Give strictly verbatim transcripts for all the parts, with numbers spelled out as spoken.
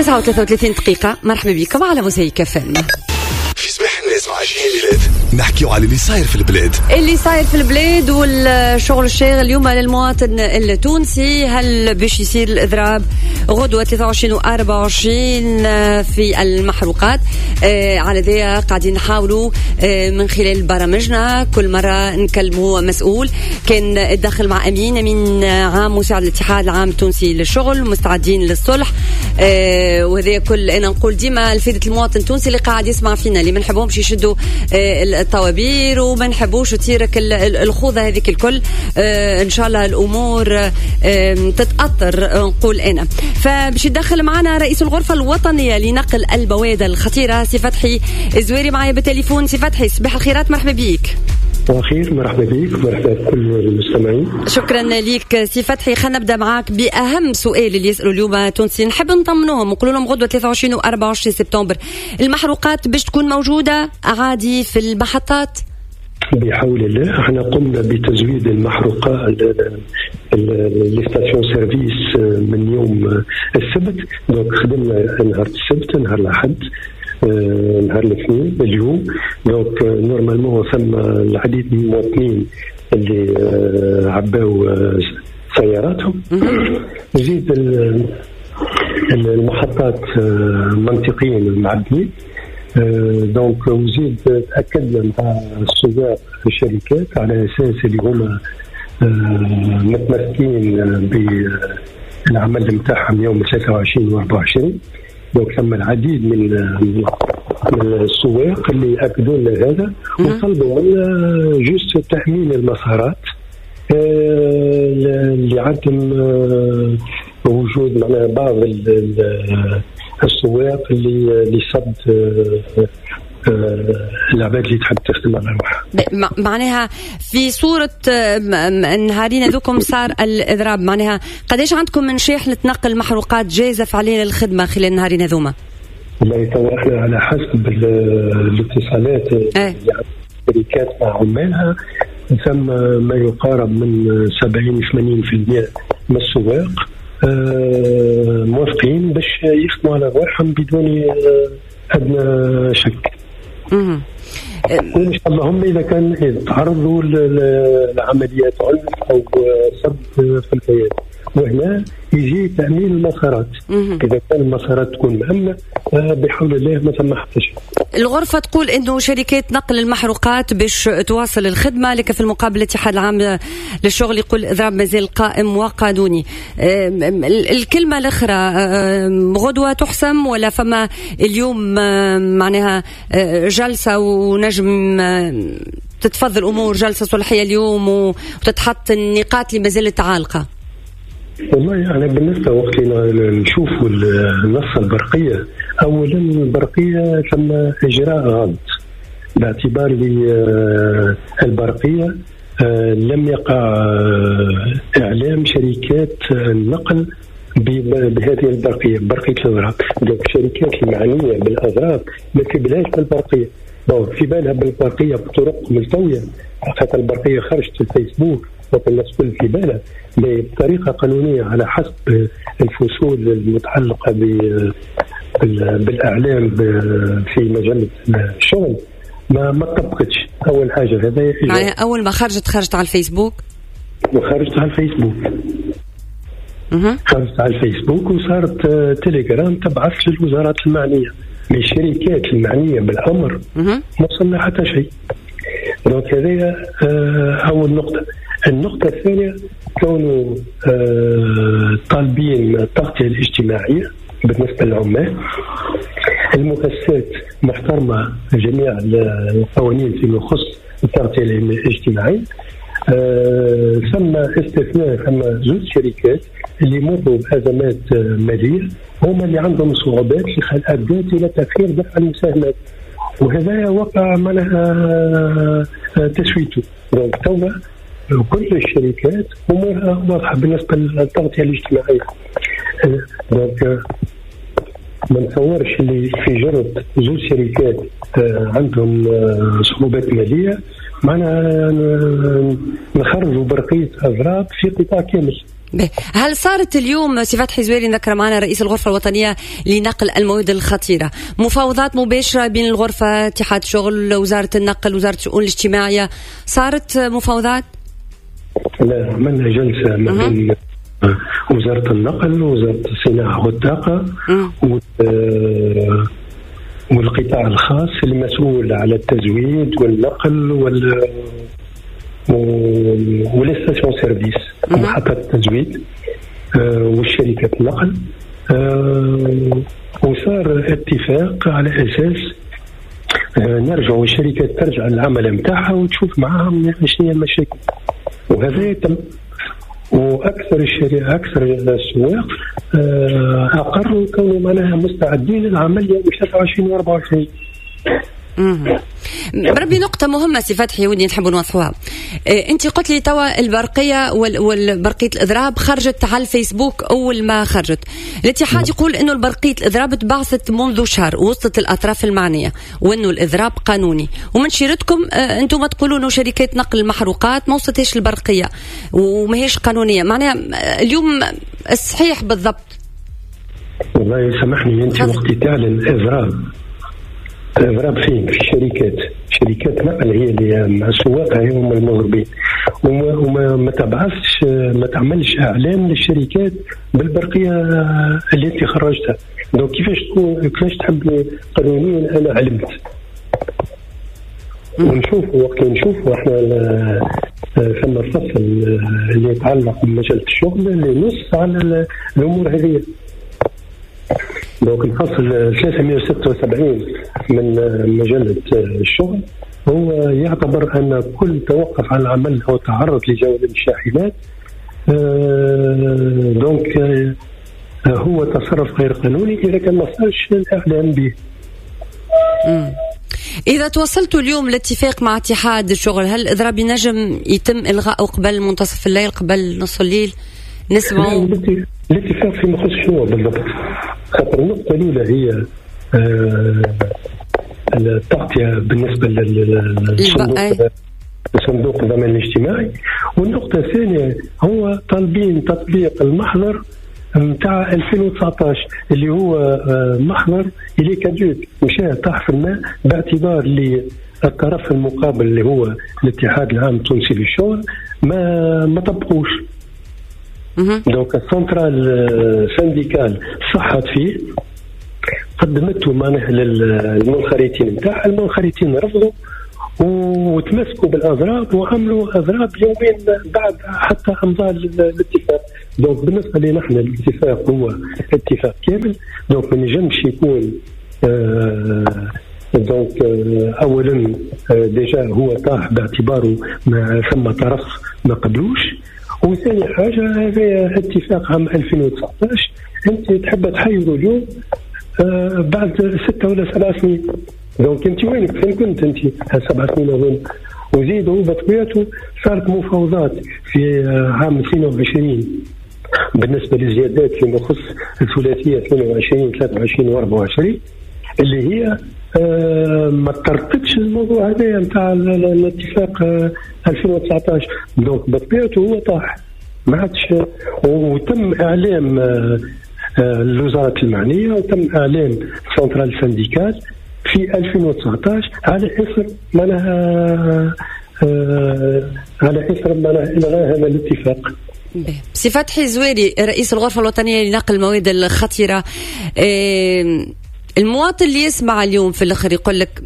تسعة وثلاثة وثلاثين دقيقة. مرحبا بكم على موزايك اف ام. في صباح الناس مع جهاد نحكيو على اللي صاير في البلاد، اللي صاير في البلاد والشغل الشاغل اليوم للمواطن التونسي. هل باش يصير الإضراب غدوة ثلاثة وعشرين و أربعة وعشرين في المحروقات؟ آه على ذا قاعدين نحاولوا آه من خلال برامجنا كل مرة نكلموا مسؤول. كان الدخل مع أمين أمين عام مساعد الاتحاد العام التونسي للشغل، مستعدين للصلح. آه وهذا كل أنا نقول ديما لفائدة المواطن التونسي اللي قاعد يسمع فينا، اللي ما نحبهمش يشدوا آه الطوابير وما نحبوش تصيرك الخوضة هذيك الكل. آه إن شاء الله الأمور آه تتأثر نقول أنا. فباش يدخل معنا رئيس الغرفة الوطنية لنقل المواد الخطيرة سي فتحي الزويري معايا بالتليفون. سي فتحي صباح الخيرات، مرحبا بيك. وخير، مرحبا بك، مرحبا بكل المستمعين. شكرا لك سي فتحي. خلينا نبدا معاك باهم سؤال اللي يسالوا اليوم تونسي، نحب نطمنوهم ونقول لهم غدوه ثلاثة وعشرين و أربعة وعشرين سبتمبر المحروقات باش تكون موجودة عادي في المحطات؟ بحول الله احنا قمنا بتزويد المحروقات les stations-service من يوم السبت، donc خدمنا نهار السبت، نهار الاحد، نهار الاثنين، اليوم. donc normalement ثم العديد من المواطنين اللي عباو سياراتهم. زيد المحطات منطقيا معبيين. donc وزيد تاكدنا مع السواق الشركات على اساس اللي هما متمسكين بالعمل نتاعهم يوم ثلاثة وعشرين و أربعة وعشرين. donc ثم العديد من من السواق اللي اكدوا لنا هذا وطلبوا منا juste تامين المسارات لعدم وجود معناها بعض السواق اللي اللي صد العباد اللي تحب تخدم على روحها. معناها في صورة النهارين هذوكم صار الإضراب، معناها قداش عندكم من شاحنة نقل محروقات جاهزة فعليا للخدمة خلال النهارين هذوما؟ والله تو احنا على حسب الاتصالات اللي الشركات مع عمالها ثم ما يقارب من سبعين ثمانين بالمئة من السواق موافقين باش يخدموا على رواحهم بدون أدنى شك. وإن شاء الله هم إذا كان تعرضوا لعمليات عنف أو سب في الكيان، وهنا يجي تأمين المسارات. إذا كان المسارات تكون مأمنة بحول الله ما ثم حتى شيء. الغرفة تقول إنه شركات نقل المحروقات باش تواصل الخدمة، لكن في المقابل الاتحاد العام للشغل يقول الإضراب مازال قائم وقانوني. الكلمة الأخرى غدوة تحسم ولا فما اليوم معناها جلسة ونجم تتفضل الأمور، جلسة صلحية اليوم وتتحط النقاط اللي مازالت عالقة؟ والله يعني بالنسبة وقت اللي نشوفوا النص البرقية، أولا البرقية ثم إجراء غلط باعتبار البرقية لم يقع إعلام شركات النقل بهذه البرقية، برقية الإضراب. donc الشركات المعنية بالإضراب ما في بالهاش بالبرقية، في بالها بالبرقية بطرق ملتوية، خاطر البرقية خرجت في الفيسبوك الناس كل في بالها بطريقة قانونية على حسب الفصول المتعلقة بالإعلام في مجلة الشغل ما ما طبقتش. أول حاجة هذا يعني أول ما خرجت خرجت على الفيسبوك، وخرجت على الفيسبوك خرجت على الفيسبوك وصارت تليجرام تبعث للوزارات المعنية، من الشركات المعنية بالأمر ما وصلنا حتى شيء. donc هذه أول نقطة. النقطة الثانية كونوا طالبين التغطية الاجتماعية بالنسبة للعمال، المؤسسات محترمة جميع القوانين فيما يخص التغطية الاجتماعية. ثم استثناء، ثم زوج شركات اللي مروا بأزمات مالية هما اللي عندهم صعوبات اللي أدت إلى تأخير دفع المساهمات، وهذا وقع معناها تسويته. donc توا كل الشركات امورها واضحة بالنسبة للتغطيه الاجتماعية. donc ما نتصورش اللي في جرد زوج شركات عندهم صعوبات ماليه معناها نخرجوا برقية اضراب في قطاع كامل. هل صارت اليوم سي فتحي زويري، نذكر معنا رئيس الغرفة الوطنية لنقل المواد الخطيرة، مفاوضات مباشرة بين الغرفة، اتحاد شغل، وزارة النقل، وزارة الشؤون الاجتماعية، صارت مفاوضات؟ لا، عملنا جلسة ما بين وزارة النقل ووزارة الصناعة والطاقة والقطاع الخاص المسؤول على التزويد والنقل وال و les stations-service، محطات التزويد والشركات النقل، وصار اتفاق على اساس نرجعوا الشركات ترجع للعمل نتاعها وتشوف معاهم شنو هي المشاكل، وهذا تم. واكثر الشركات اكثر السواق اقروا كونوا معناها مستعدين للعمل يوم ثلاثة وعشرين و أربعة وعشرين. بربي نقطة مهمة سي فتحي ودي نحب نوضحوها. إيه، أنت قلت لي توا البرقية والبرقية الإضراب خرجت على الفيسبوك أول ما خرجت. الاتحاد يقول أنه البرقية الإضراب تبعثت منذ شهر ووصلت الأطراف المعنية وأنه الإضراب قانوني، ومن شيرتكم آه، أنتم تقولوا أنه شركات نقل المحروقات ما وصلتهاش البرقية وماهيش قانونية. معناها اليوم الصحيح بالضبط؟ والله سامحني، أنت وقت تعلن إضراب، الإضراب فين؟ في الشركات، شركات نقل هي اللي مع السواق هم المضربين، وما, وما ما تبعثش، ما تعملش اعلان للشركات بالبرقيه اللي انت خرجتها. donc كيفاش تكون، كيفاش تحب قانونيا؟ انا علمت ونشوفوا وقت نشوفوا احنا ثم الفصل اللي يتعلق بمجلة الشغل اللي نص على الامور هذه. donc الفصل ثلاثمائة وستة وسبعين من مجلة الشغل هو يعتبر أن كل توقف عن العمل أو تعرض لجولة الشاحنات donc هو تصرف غير قانوني إذا كان ما صارش الإعلام به. إذا توصلتوا اليوم لاتفاق مع اتحاد الشغل، هل الإضراب ينجم يتم إلغائه قبل منتصف الليل، قبل نص الليل؟ نسمعوا الاتفاق فيما يخص شنو بالضبط؟ خاطر النقطة الأولى هي آه التغطية بالنسبة للصندوق صندوق الضمان الاجتماعي، والنقطة الثانية هو طالبين تطبيق المحضر نتاع ألفين وتسعطاش اللي هو آه محضر اللي caduc مشى طاح في الماء باعتبار اللي الطرف المقابل اللي هو الاتحاد العام التونسي للشغل ما ما طبقوش. donc ال centrale syndicale صحت فيه، قدمته معناها للمنخرطين نتاعها، المنخرطين رفضوا وتمسكوا بالاضراب وعملوا اضراب يومين بعد حتى امضاء الاتفاق. donc بالنسبة لنا احنا الاتفاق هو اتفاق كامل، donc ما نجمش يكون آه donc آه اولا آه déjà هو طاح باعتباره ما ثم طرف ما قبلوش، وثاني حاجة هذا اتفاق عام ألفين وتسعطاش انت تحب تحيروا اليوم آه بعد ستة ولا سبع سنين. donc انت وينك؟ فين كنت انت سبع سنين اظن؟ وزيدوا بطبيعته صارت مفاوضات في عام اثنين وعشرين بالنسبة للزيادات فيما يخص الثلاثية اثنين وعشرين ثلاثة وعشرين وأربعة وعشرين اللي هي آه ما ترتبش الموضوع هذا نتاع الاتفاق آه ألفين وتسعطاش. donc بطبيعته هو طاح ما عادش، وتم اعلام آه الوزارات المعنية وتم اعلام centrale syndicale في ألفين وتسعطاش على اثر معناها آه على اثر معناها الغاء هذا الاتفاق. سي فتحي زويري رئيس الغرفة الوطنية لنقل المواد الخطيرة، آه المواطن اللي يسمع اليوم في الاخر يقول لك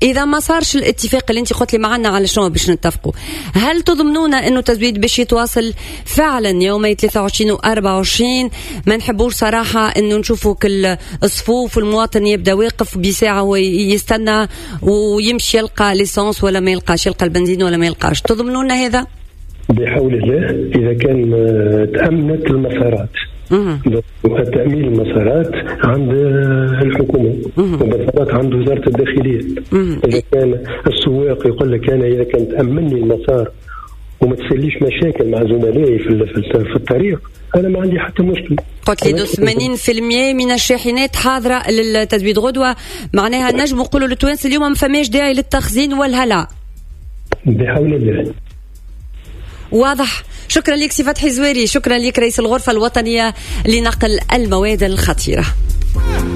اذا ما صارش الاتفاق اللي انت قلت لي معنا على شنو باش نتفقوا، هل تضمنون انه التزويد باش يتواصل فعلا يومي ثلاثة وعشرين و أربعة وعشرين؟ ما نحبوش صراحة انه نشوفوا كل الصفوف والمواطن يبدا واقف بساعة ويستنى ويمشي يلقى l'essence ولا ما يلقاش، يلقى البنزين ولا ما يلقاش. تضمنون هذا؟ بحول الله اذا كان تامنت المسارات. تأمين المسارات عند الحكومة ومسارات عند وزارة الداخلية. إذا كان السواق يقول لك أنا إذا كان تأمني المسار وما تسليش مشاكل مع زملائي في في الطريق أنا ما عندي حتى مشكلة. قلت لي ثمانين بالمئة من الشاحنات حاضرة للتزويد غدوة، معناها نجم نقولوا للتوانسة اليوم ما فماش داعي للتخزين والهلع. بحول الله. واضح. شكرا لك سي فتحي زويري، شكرا لك رئيس الغرفة الوطنية لنقل المواد الخطيرة.